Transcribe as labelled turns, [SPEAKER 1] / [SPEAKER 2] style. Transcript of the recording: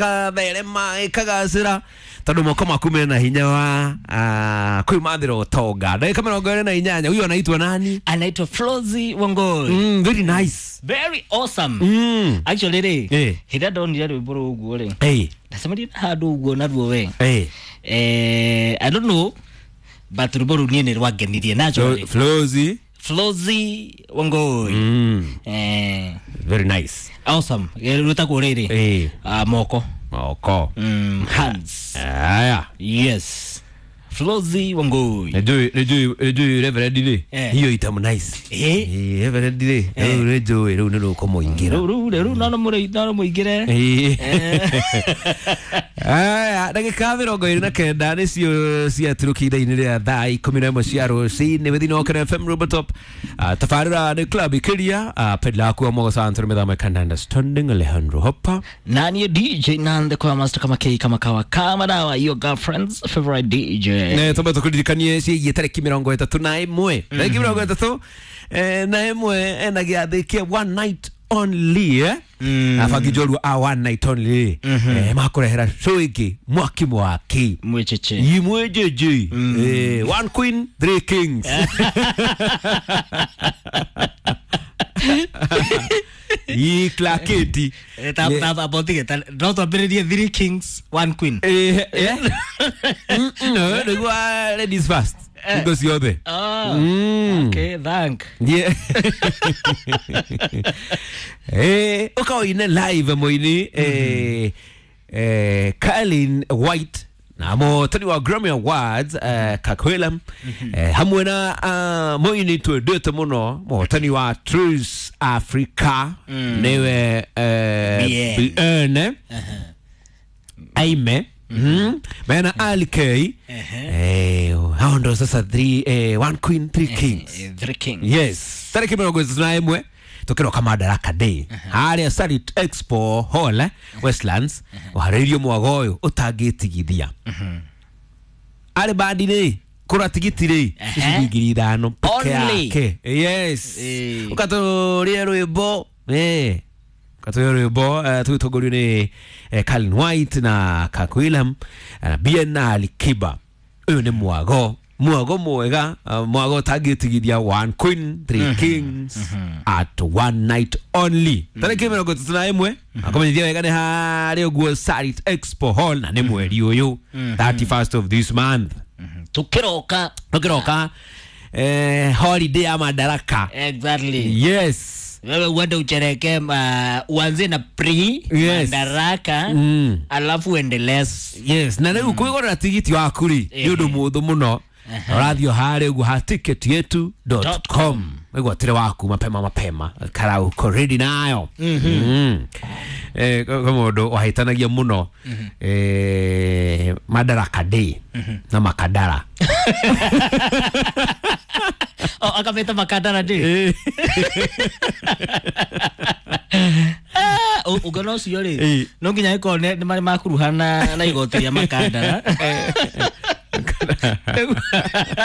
[SPEAKER 1] Ĩkatherema ĩkagacĩra tondũ moko maku mena hinya wa kwĩmathĩra ũtonga. Ndagĩka 28, huyu anaitwa nani?
[SPEAKER 2] Anaitwa Flozi Wangoi.
[SPEAKER 1] Very nice.
[SPEAKER 2] Very awesome. Actually rĩ, hĩndĩ ĩrĩa ndonire rwĩmbo rũu ũguo rĩ, ndacemanirie na handũ ũguo naruo we. I don't know, but rwĩmbo rũu niĩ nĩ rwangenirie naturally.
[SPEAKER 1] Flozi.
[SPEAKER 2] Flozi Wangoi.
[SPEAKER 1] Very nice.
[SPEAKER 2] Awesome. Rwĩtagwo rĩrĩ, moko.
[SPEAKER 1] Moko.
[SPEAKER 2] Hands.
[SPEAKER 1] Aya.
[SPEAKER 2] Yes, Flozi Wangoi.
[SPEAKER 1] Nĩnjũĩ Reverend rĩ, hiyo itamu nice. Reverend rĩ, rĩu nĩnjũĩ rĩu nĩ rũkũmũingĩra.
[SPEAKER 2] Rĩu no mũingĩre.
[SPEAKER 1] Aya, ndagĩka 29 nĩcio ciaturũkia ithaa-inĩ rĩa thaa 11 cia rũcinĩ wĩthĩinĩ wa Kena FM Rooftop. Tabarĩra nĩ Club Ikiria, pedla aku wa Mogo Santo mĩthamo kandanda standing Alejandro Hopper.
[SPEAKER 2] Na niĩ DJ Nande kwa master kama kei kama kawa kama dawa, your girlfriend's favorite DJ.
[SPEAKER 1] Nĩ twambe tũkũririkanie ciĩgiĩ tarĩki 31, tarĩki 31 ena gĩathĩ kĩa one night only, eh? Abangi njorua a one night only, makũrehera show ĩngĩ mwaki mwaki.
[SPEAKER 2] Mwecheche.
[SPEAKER 1] Imwejeje. One queen, three kings. Iklaketi.
[SPEAKER 2] No twambĩrĩrie three kings one queen.
[SPEAKER 1] No, nĩguo ladies first. Hingo ciothe.
[SPEAKER 2] Oh, okay, thank.
[SPEAKER 1] Yeah. Ũkaoine live mũini Carlin White na mũhotani wa Grammy Awards, Kirk Whalum, hamwe na mũini twendete mũno, mũhotani wa Trace Africa, nĩwe
[SPEAKER 2] Bien.
[SPEAKER 1] Bien Aime. Mena Ali K. Hao ndo sasa three, one queen, three kings.
[SPEAKER 2] Three kings.
[SPEAKER 1] Yes, tarĩki 31 tũkĩroka Madaraka Day harĩa Sarit Expo Hall, Westlands, ũharĩirio mwago ũyũ ũtangĩtigithia. Arĩ bandi rĩ, kũra tigiti rĩ ciringi 5,000 peke
[SPEAKER 2] Only.
[SPEAKER 1] yake. Yes. Ũkatũrĩe rwĩmbo, ũkatũrĩe rwĩmbo, tũgĩtongorio nĩ Carlin White na Kirk Whalum na Bien na Ali Kiba. Ũyũ nĩ mwago mwega, mwago ũtangĩtigithia, one queen, three kings at one night only, tarĩki 31. Akũmenyithia wega nĩ harĩa ũguo Sarit Expo Hall, na nĩ mweri ũyũ, 31st of this month.
[SPEAKER 2] Tukiroka.
[SPEAKER 1] Tũkĩroka holiday ya Madaraka.
[SPEAKER 2] Exactly.
[SPEAKER 1] Yes.
[SPEAKER 2] Wewe uende uchereke, uanze na pre Madaraka, alafu uendelee.
[SPEAKER 1] Yes, na rĩu kwĩgũrĩra tigiti waku rĩ nĩ ũndũ mũhũthũ mũno. Ũrathiĩ harĩa ũguo ha ticket yetu dot com, wĩgwatĩre waku mapema mapema kara uko ready nayo. Kwĩ mũndũ wahĩtanagia mũno, Madaraka Day na Makadara.
[SPEAKER 2] Oh, akabeta Makadara Day. Ũngĩona ũcio rĩ, no nginya ĩkorwo nĩ marĩ makuruhana na igoti rĩa Makandara.